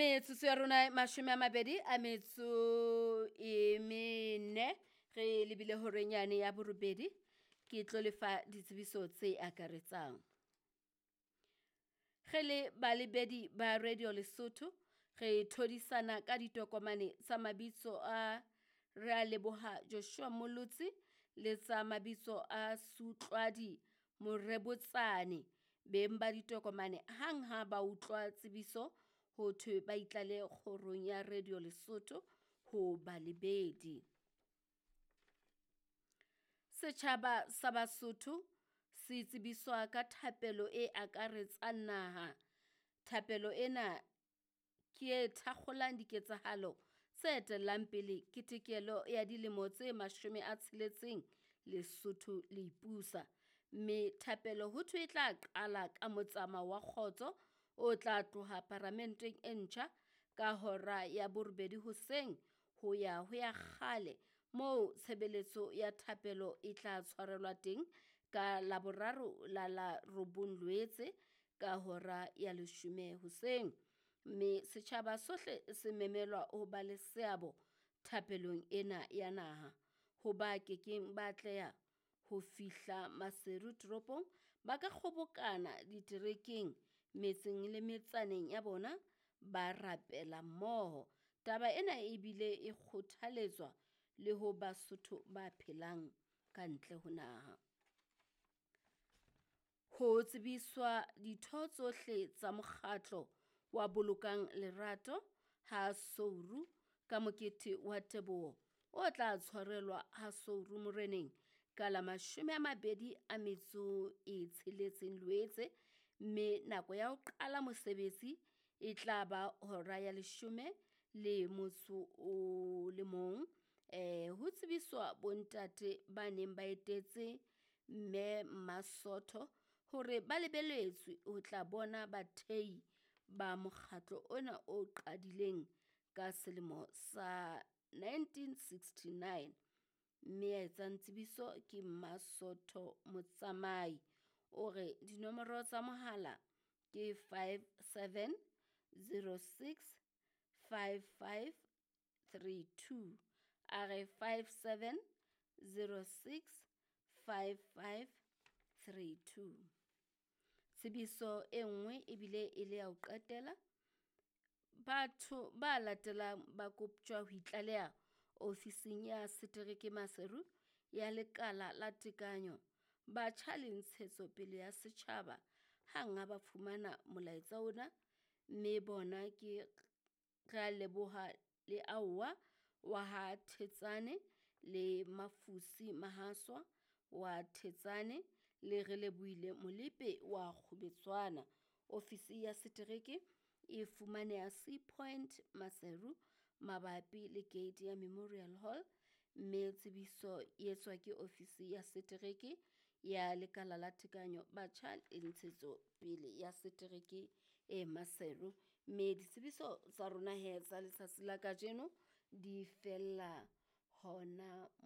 Metsotso ya rona e 24 re lebile horeng yane ya borobedi. Ke tlo lefa ditsebiso tse akaretsang. Re le balebedi ba Radio Lesotho, re thodisana ka ditokomane tsa mabitso a Realeboha Joshua Molotsi le tsa mabitso a Sutlwadi Morebotsane. Beng ba ditokomane hang ha ba utlwa tsebiso ho thwe ba itlale kgorong ya Radio Lesotho ho balebedi. Setjhaba sa Basotho se tsebiswa ka thapelo e akaretsang naha. Thapelo ena ke e thakgolang diketsahalo tse etellang pele ketekelo ya dilemo tse 60 Lesotho le ipusa. Mme thapelo ho thwe e tla qala ka motsamao wa kgotso o tla tloha paramenteng e ntjha ka hora ya 8 hoseng ho ya ho ya kgale, moo tshebeletso ya thapelo e tla tshwarelwa teng ka Laboraro la la 9 Loetse ka hora ya 10 hoseng. Mme setjhaba sohle se memelwa ho ba le seabo thapelong ena ya naha. Ho ba kekeng ba atleha ho fihla Maseru toropong, ba ka kgobokana diterekeng, metseng le metsaneng ya bona ba rapela mmoho. Taba ena ebile e kgothaletswa le ho Basotho ba phelang ka ntle ho naha. Ho tsebiswa ditho tsohle tsa mokgatlo wa Bolokang Lerato ha Souru ka mokete wa teboho o tla tshwarelwa ha Souru Moreneng ka la 26 Loetse, mme nako ya ho qala mosebetsi e tla ba hora ya 11. Ho tsebiswa bontate ba neng ba etetse mme Masotho hore ba lebeletswe ho tla bona bathei ba mokgatlo ona o qadileng ka selemo sa 1969. Mme ya etsang tsebiso ke Masotho Motsamai. O re dinomoro tsa mohala ke 57 06 55 32. A re 57 06 55 32. Tsebiso e nngwe ebile e le ya ho qetela. Batho ba latelang ba koptjwa ho itlaleha ofising ya setereke Maseru ya lekala la tekanyo, batjha le ntshetsopele ya setjhaba hang ha ba fumana molaetsa ona, mme bona ke Realeboha le Aowa wa ha Thetsane le Mafusi Mahaswa wa Thetsane le Relebohile Molepe wa Kgubetswana. Ofisi ya setereke e fumaneha Sea Point Maseru mabapi le gate ya Memorial Hall, mme tsebiso e etswa ke ofisi ya setereke ya lekala la tekanyo, batjha le ntshetsopele ya setereke e Maseru. Mme ditsebiso tsa rona he tsa letsatsi la kajeno di fella hona.